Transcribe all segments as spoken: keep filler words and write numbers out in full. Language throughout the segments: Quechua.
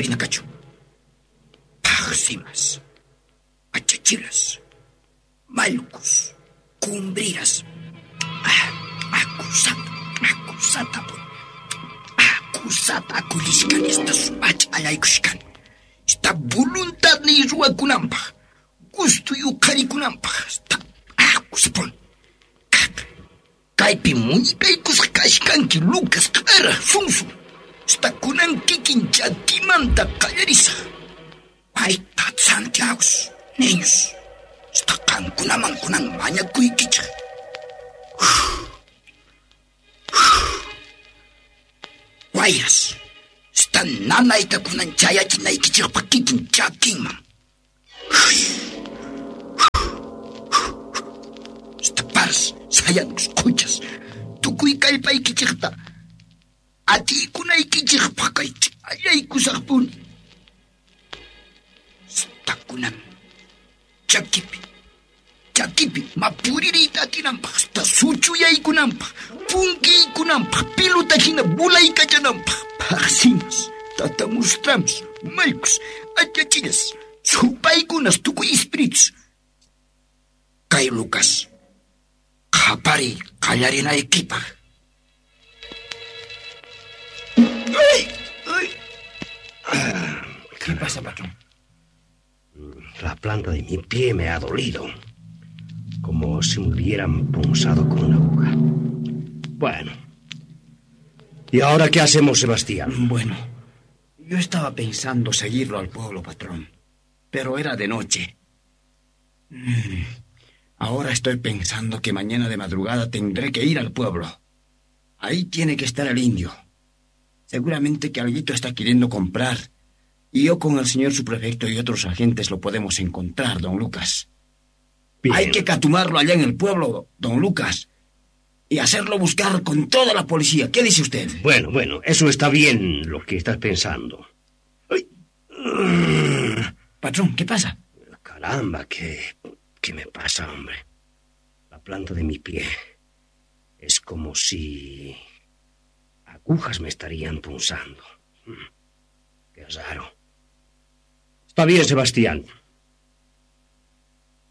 Uyarina kachun. Paqsimas, achachilas, mallkus, cumbriras, ah, acusata, acusata, acusata akulishkan esta sumach allaykushkan. Esta voluntad ni ruwakunanpaq, gusto yuqharikunanpaq, esta acuspon. Kaypi muñikaykusqa kashkanki Lucas q'ara sunsu. Esta kunan kikin chakimanta qallarisaq. Wayta Santiago, niños. Esta qankunaman kunan mañakuykichik. Wayras, esta nanayta kunan chayachinaykichikpaq kikin chakinman. Esta paras, sayankus, quchas, tukuy kallpaykichikta atikunaykichikpaq kay allaykusaqpuni. Esta kunan chakipi, chakipi mapuririyta atinanpaq, esta suchuyaykunanpaq, punkiykunanpaq, piluta hina bulaykachananpaq, paqsimas, tatamustrams, mallkus, achachillas, supaykunas, tukuy espíritus. Kay Lucas, qhapariy qallarinaykipaq. ¡Ay! ¡Ay! ¿Qué pasa, patrón? La planta de mi pie me ha dolido, como si me hubieran punzado con una aguja. Bueno. ¿Y ahora qué hacemos, Sebastián? Bueno, yo estaba pensando seguirlo al pueblo, patrón, pero era de noche. Mm. Ahora estoy pensando que mañana de madrugada tendré que ir al pueblo. Ahí tiene que estar el indio. Seguramente que alguito está queriendo comprar. Y yo con el señor subprefecto y otros agentes lo podemos encontrar, don Lucas. Bien. Hay que catumarlo allá en el pueblo, don Lucas, y hacerlo buscar con toda la policía. ¿Qué dice usted? Bueno, bueno, eso está bien lo que estás pensando. Ay. Patrón, ¿qué pasa? Caramba, ¿qué, qué me pasa, hombre? La planta de mi pie es como si agujas me estarían punzando. Qué raro. Está bien, Sebastián.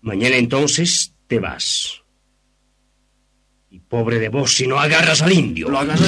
Mañana entonces te vas. Y pobre de vos si no agarras al indio. Lo agarraré.